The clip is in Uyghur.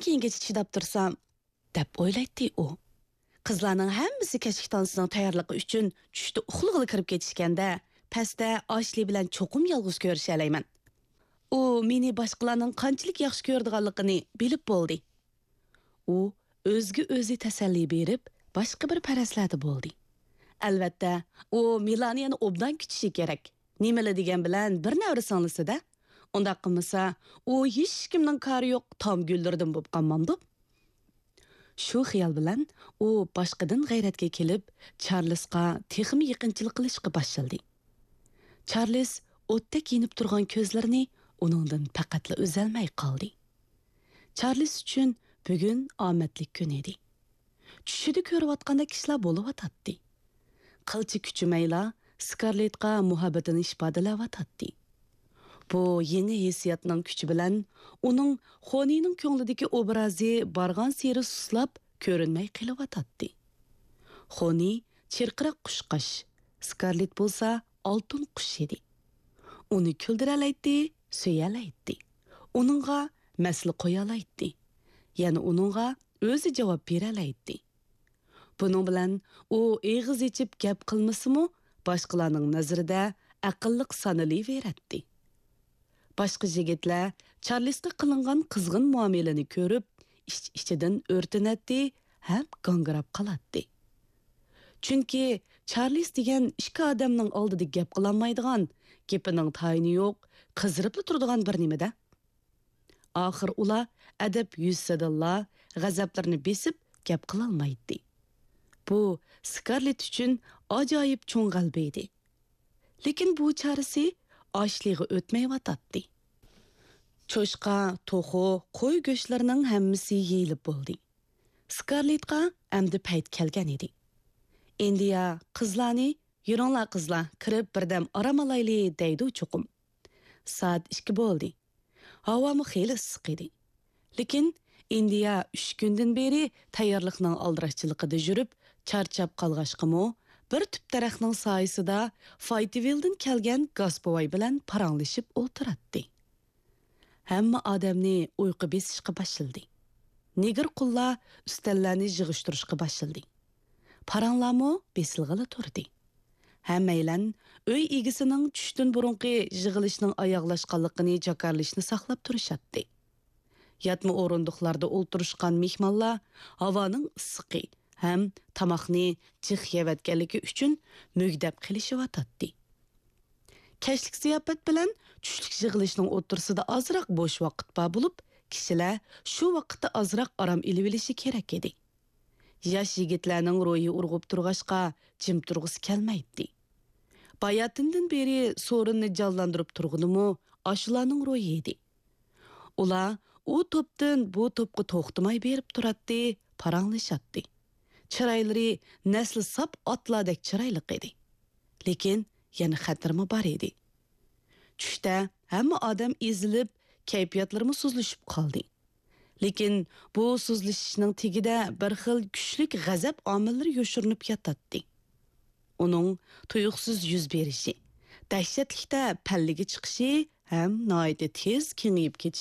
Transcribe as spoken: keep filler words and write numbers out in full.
كېيىنگىچە چىداپ تۇرسام؟» دەپ ئويلايتتى ئۇ. قىزلارنىڭ ھەممىسى كەچلىك تانسىنىڭ تەييارلىقى ئۈچۈن چۈشتە ئۇخلىغىلى كىرىپ كېتىشكەندە، پەستە ئاشلى بىلەن چوقۇم يالغۇز كۆرۈشەلەيمەن. ئۇ مېنى باشقىلارنىڭ قانچىلىك ياخشى كۆرىدىغانلىقىنى بىلىپ بولدى. ئۇ ئۆزىگە ئۆزى تەسەللى بېرىپ، باشقا بىر پەرەزلەردە بولدى. ئەلۋەتتە، ئۇ مىلانىيەنى ئوبدان كۈتۈشى كېرەك. نېمىلا دېگەن بىلەن بىر نەۋرە سىڭلىسىدە. ئۇنداق قىلمىسا، ئۇ ھېچكىمنىڭ كارى يوق تام گۈللىرىدىن بولۇپ قالمامدۇ؟ شۇ خىيال بىلەن ئۇ باشقىدىن غەيرەتكە كېلىپ، چارلىسقا تېخىمۇ يېقىنچىلىق قىلىشقا باشلىدى. چارلىس ئوتتەك يېنىپ تۇرغان كۆزلىرىنى ئۇنىڭدىن پەقەتلا ئۈزەلمەي قالدى. چارلىس ئۈچۈن بۈگۈن ئامەتلىك كۈن ئىدى. چۈشىدە كۆرۈۋاتقاندەك ئىشلار بولۇۋاتاتتى. قىلچە كۈچىمەيلا سكارلېتقا مۇھەببىتىنى ئىپادىلەۋاتاتتى. بۇ يېڭى ھېسسىياتنىڭ كۈچى بىلەن ئۇنىڭ خونىنىڭ كۆڭلىدىكى ئوبرازى بارغانسېرى سۇسلاپ، كۆرۈنمەي قېلىۋاتاتتى. خونى چىرقىراق قۇشقاچ، سكارلېت بولسا ئالتۇن قۇش ئىدى. ئۇنى كۈلدۈرەلەيتتى، سۆيەلەيتتى. ئۇنىڭغا مەسىلە قويالايتتى. يەنە ئۇنىڭغا ئۆزى جاۋاب بېرەلەيتتى. بۇنىڭ بىلەن ئۇ ئېغىز ئېچىپ گەپ قىلمىسىمۇ، باشقىلارنىڭ نەزىرىدە ئەقىللىق سانىلىۋېرەتتى. باشقا يىگىتلەر چارلىسقا قىلىنغان قىزغىن مۇئامىلىنى كۆرۈپ، ئىچ-ئىچىدىن ئۆرتىنەتتى ھەم گاڭگىراپ قالاتتى. چۈنكى چارلىس دېگەن ئىككى ئادەمنىڭ ئالدىدا گەپ قىلالمايدىغان، گېپىنىڭ تايىنى يوق، قىزىرىپلا تۇرىدىغان بىر نېمىدە. ئاخىر ئۇلار ئەدەپ يۈزىسىدىنلا غەزەپلىرىنى بېسىپ گەپ قىلالمايتتى. بۇ سكارلېت ئۈچۈن ئاجايىپ چوڭ غەلىبە ئىدى. لېكىن بۇ چارىسى ئاشلىغا ئۆتمەيۋاتاتتى. چوشقا، توخۇ، قوي گۆشلىرىنىڭ ھەممىسى يېيىلىپ بولدى. سكارلېتقا ئەمدى پەيت كەلگەن ئىدى. ئىندىيا قىزلارنى، «يۈرۈڭلار قىزلار، كىرىپ بىردەم ئارام ئالايلى» دەيدۇ چوقۇم. سائەت ئىككى بولدى. ھاۋامۇ خېلى ئىسسىق ئىدى. لېكىن ئىندىيا ئۈچ كۈندىن بېرى تەييارلىقنىڭ ئالدىراشچىلىقىدا يۈرۈپ، چارچاپ قالغاچقىمۇ، بىر تۈپ دەرەخنىڭ سايىسىدا فايتىۋىلدىن كەلگەن گاس بوۋاي بىلەن پاراڭلىشىپ ئولتۇراتتى. ھەممە ئادەمنى ئۇيقۇ بېسىشقا باشلىدى. نېگىر قۇللار ئۈستەللەرنى يىغىشتۇرۇشقا باشلىدى. پاراڭلارمۇ بېسىلغىلى تۇردى. ھەممەيلەن ئۆي ئىگىسىنىڭ چۈشتىن بۇرۇنقى يىغىلىشنىڭ ئاياغلاشقانلىقىنى جاكارلىشىنى ساقلاپ تۇرۇشاتتى. ياتما ئورۇندۇقلاردا ئولتۇرۇشقان مېھمانلار ھاۋانىڭ ئىسسىقى ھەم تاماقنى جىق يەۋەتكەنلىكى ئۈچۈن مۈگدەپ قېلىشىۋاتاتتى. كەچلىك زىياپەت بىلەن چۈشلۈك يىغىلىشنىڭ ئوتتۇرىسىدا ئازراق بوش ۋاقىت بار بولۇپ، كىشىلەر شۇ ۋاقىتتا ئازراق ئارام ئېلىۋېلىشى كېرەك ئىدى. ياش يىگىتلەرنىڭ روھى ئۇرغۇپ تۇرغاچقا، جىم تۇرغۇسى كەلمەيتتى. باياتىندىن بېرى سورۇننى جانلاندۇرۇپ تۇرغىنىمۇ ئاشۇلارنىڭ روھى ئىدى. ئۇلار ئۇ توپتىن بۇ توپقا توختىماي بېرىپ تۇراتتى، پاراڭلىشاتتى. چىرايلىرى نەسلى ساپ ئاتلاردەك چىرايلىق ئىدى. لېكىن يەنە خەتىرمۇ بار ئىدى. چۈشتە ھەممە ئادەم ئېزىلىپ، كەيپىياتلىرىمۇ سۇسلىشىپ قالدى. لېكىن بۇ سۇسلىشىشنىڭ تېگىدە بىر خىل كۈچلۈك غەزەپ ئامىللىرى يوشۇرۇنۇپ ياتاتتى. ئۇنىڭ تۇيۇقسىز يۈز بېرىشى، دەھشەتلىكتە پەللىگە چىقىشى ھەم ناھايىتى تېز كېڭىيىپ كېتىشى